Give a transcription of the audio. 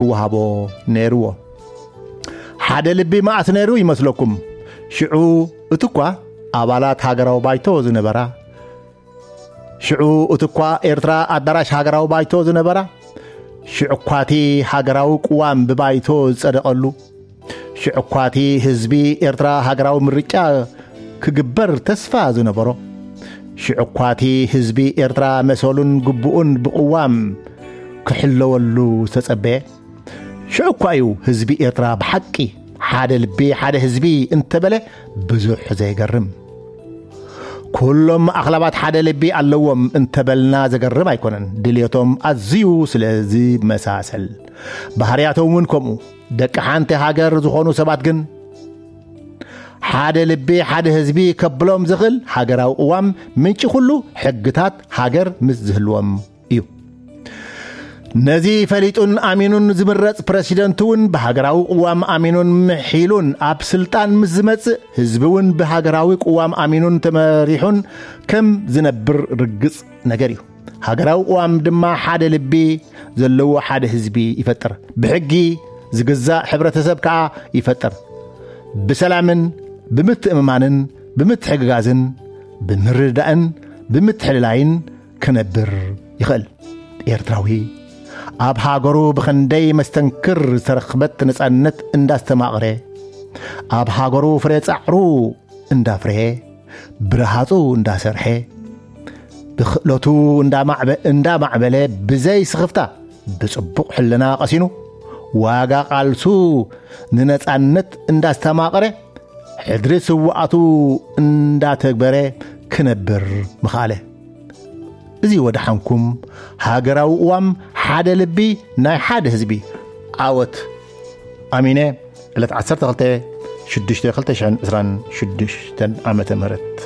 ክወሃቦ ነይርዎ። ሓደ ልቢ መዓስ ነይሩ ይመስለኩም? ሽዑ እቲ እኳ ኣባላት ሃገራዊ ባይቶ ዝነበራ፣ ሽዑ እቲ እኳ ኤርትራ ኣዳራሽ ሃገራዊ ባይቶ ዝነበራ፣ ሽዑ እኳ እቲ ሃገራዊ ቅዋም ብባይቶ ዝጸደቐሉ፣ ሽዑ እኳ እቲ ህዝቢ ኤርትራ ሃገራዊ ምርጫ ክግበር ተስፋ ዝነበሮ፣ ሽዑ እኳ እቲ ህዝቢ ኤርትራ መሰሉን ግቡኡን ብቅዋም ክሕለወሉ ዝተጸበየ፣ ሽዑ እኳ እዩ ህዝቢ ኤርትራ ብሓቂ ሓደ ልቢ ሓደ ህዝቢ እንተበለ ብዙሕ ዘይገርም። ኩሎም ኣኽላባት ሓደ ልቢ ኣለዎም እንተበልና ዘገርም ኣይኮነን። ድልየቶም ኣዝዩ ስለ ዝመሳሰል፣ ባህርያቶም እውን ከምኡ። ደቂ ሓንቲ ሃገር ዝኾኑ ሰባት ግን ሓደ ልቢ ሓደ ህዝቢ ከብሎም ዝኽእል ሃገራዊ ቅዋም ምንጪ ኩሉ ሕግታት ሃገር ምስ ዝህልዎም እዩ። ነዚ ፈሊጡን ኣሚኑን ዝምረጽ ፕረሲደንት እውን ብሃገራዊ ቅዋም ኣሚኑን ምሒሉን ኣብ ስልጣን ምስ ዝመጽእ፣ ህዝቢ እውን ብሃገራዊ ቅዋም ኣሚኑን ተመሪሑን ከም ዝነብር ርግጽ ነገር እዩ። ሃገራዊ ቅዋም ድማ ሓደ ልቢ ዘለዎ ሓደ ህዝቢ ይፈጥር። ብሕጊ ዝግዛእ ሕብረተሰብ ከኣ ይፈጥር። ብሰላምን ብምትእምማንን ብምትሕግጋዝን ብምርዳእን ብምትሕልላይን ክነብር ይኽእል። ኤርትራዊ ኣብ ሃገሩ ብኽንደይ መስተንክር ዝተረኽበት ነጻነት እንዳስተማቕረ፣ ኣብ ሃገሩ ፍሬ ጻዕሩ እንዳፍረየ፣ ብረሃጹ እንዳሰርሐ፣ ብኽእለቱ እንዳማዕበ-፣ እንዳማዕበለ ብዘይ ስኽፍታ ብጽቡቕ ሕልና ቀሲኑ፣ ዋጋ ቃልሱ ንነጻነት እንዳስተማቐረ፣ ሕድሪ ስውኣቱ እንዳተግበረ ክነብር ምኽኣለ። እዚ ወደሓንኩም ሃገራዊ ቅዋም ሓደ ልቢ ናይ ሓደ ህዝቢ ዓወት። ኣሚነ፣ ዕለት ዓሰርተ ክልተ ሽዱሽተ ክልተ ሽሕን ዕስራን ሽዱሽተን ዓመተ ምህረት።